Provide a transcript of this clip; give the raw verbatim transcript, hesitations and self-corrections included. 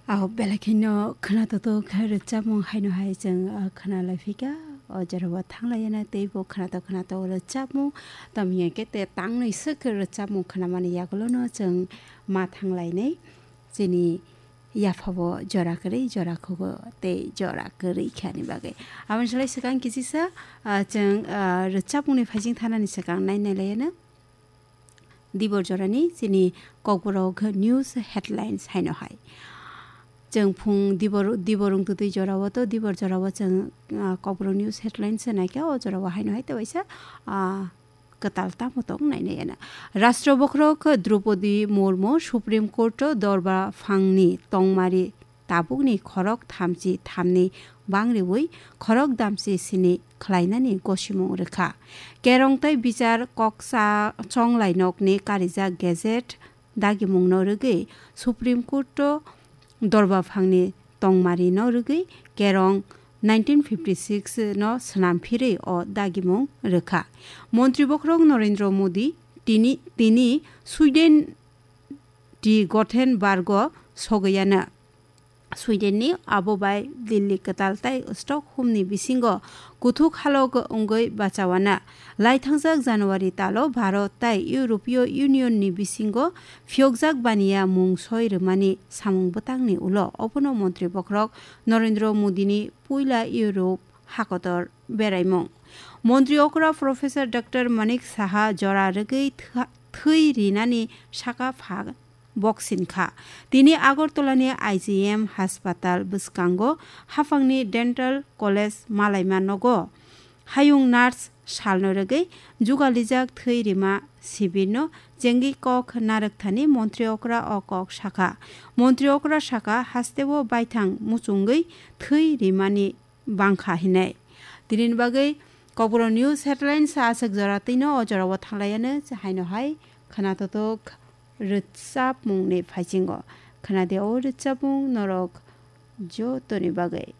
Aho belai kheno khwnatok khe rwchapmung haino hai chwng, ah, khwnalai phika. O jorao thanglaiya na teibo khwnatok khwnatok rwchapmung. Tamni hwnkhe te tangnwi swk rwchapmung khwnamani yagulono chwng ma thanglainai. Chini yaphabo jora kwrwi, jora khugo tei jora kwrwi khe ani bagwi. Aboni slai swkang kisisa, ah, chwng, ah, rwchapmungni phaising thanani swkang nai nailaiyano. Dibor jorani chini Kokborok news headlines haino hai. Chwng phung dibor, dibor wngtutwi jorao to, dibor jorao chwng, ah, Kokborok news headlines se naikha, o jorao haino hai tewaisa, ah, kwtal tamo tong nainaiya. Rashtra bokhorok Draupadi Murmu Supreme Court o dorba phangni tongmari tabukni khorok thamchi thamni bangriwi khorok damchi sini khlainani gosimung rwkha. Kerong tei bichar koksa chonglai nokni karijak gazette dagimungno rwgwi Supreme Court o dorba phangni tongmarino rwgwi kerong nineteen fifty six no swnam phirwi o dagimung rwkha. Montri bokhorok Narendra Modi tini, tini Sweden ti Gothenburg o sogwiano. Sweden ni abo bai Delhi kwtal tei Stockholm ni bisingo kuthuk halok wngwi bachawana. Laithangjak January talo Bharat tei European Union ni bisingo phiyokjak baniya mung soi rwmani samung bwtangni ulo obono Montri bokhorok Narendra Modi ni puila Europe hakotor beraimung. Montri okra Professor Doctor Manik Saha jora rwgwi thwa-, thwi rinani saka pha boksin kha. Tini Agartala ni I G M haspatal bwskango haphangni Dental College malaima nogo hayung nurse salno rwgwi jugalijak thwi rima sibirno chengwi kok narwkthani Montri okra o kok sakha. Montri okra saka hasteo baithang muchungwi thwi rimani bangkha hinwi. Tinini bagwi Kokborok news headlines aswk jora twino o jorao thanglaiano haino hai khwnatok rwchapmungni phaisingo. Khwnadi o rwchapmung norok jotoni bagwi.